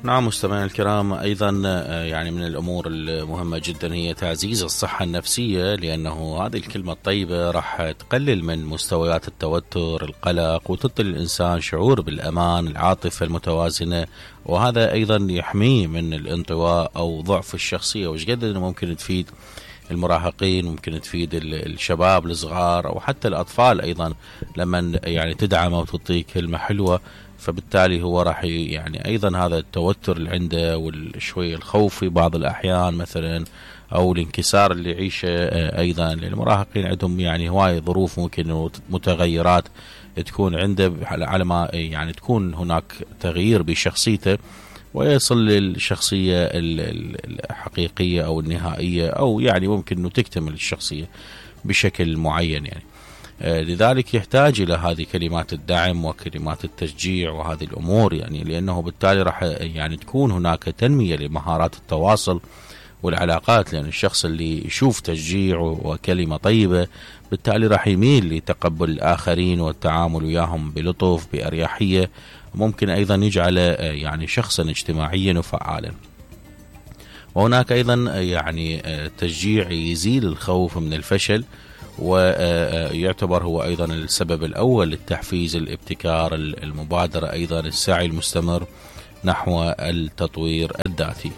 نعم مستمعينا الكرام، أيضا يعني من الأمور المهمة جدا هي تعزيز الصحة النفسية، لأنه هذه الكلمة الطيبة راح تقلل من مستويات التوتر القلق وتعطي الإنسان شعور بالأمان العاطفة المتوازنة، وهذا أيضا يحميه من الانطواء أو ضعف الشخصية. وش قد ممكن تفيد المراهقين، ممكن تفيد الشباب الصغار أو حتى الأطفال أيضا لما يعني تدعمه وتعطيه كلمة حلوة، فبالتالي هو راح يعني أيضا هذا التوتر اللي عنده والشوي الخوف في بعض الأحيان مثلا أو الانكسار اللي يعيشه أيضا للمراهقين عندهم يعني هواي ظروف ممكن متغيرات تكون عنده، على ما يعني تكون هناك تغيير بشخصيته ويصل للشخصية الحقيقية أو النهائية، أو يعني ممكن أنه تكتمل الشخصية بشكل معين يعني. لذلك يحتاج إلى هذه كلمات الدعم وكلمات التشجيع وهذه الأمور، يعني لأنه بالتالي راح يعني تكون هناك تنمية لمهارات التواصل والعلاقات، لأن الشخص اللي يشوف تشجيع وكلمة طيبة بالتالي راح يميل لتقبل الآخرين والتعامل وياهم بلطف بأريحية، ممكن أيضا يجعله يعني شخصا اجتماعيا وفعالا. وهناك أيضا يعني تشجيع يزيل الخوف من الفشل، ويعتبر هو أيضا السبب الأول للتحفيز الابتكار المبادرة، أيضا السعي المستمر نحو التطوير الذاتي.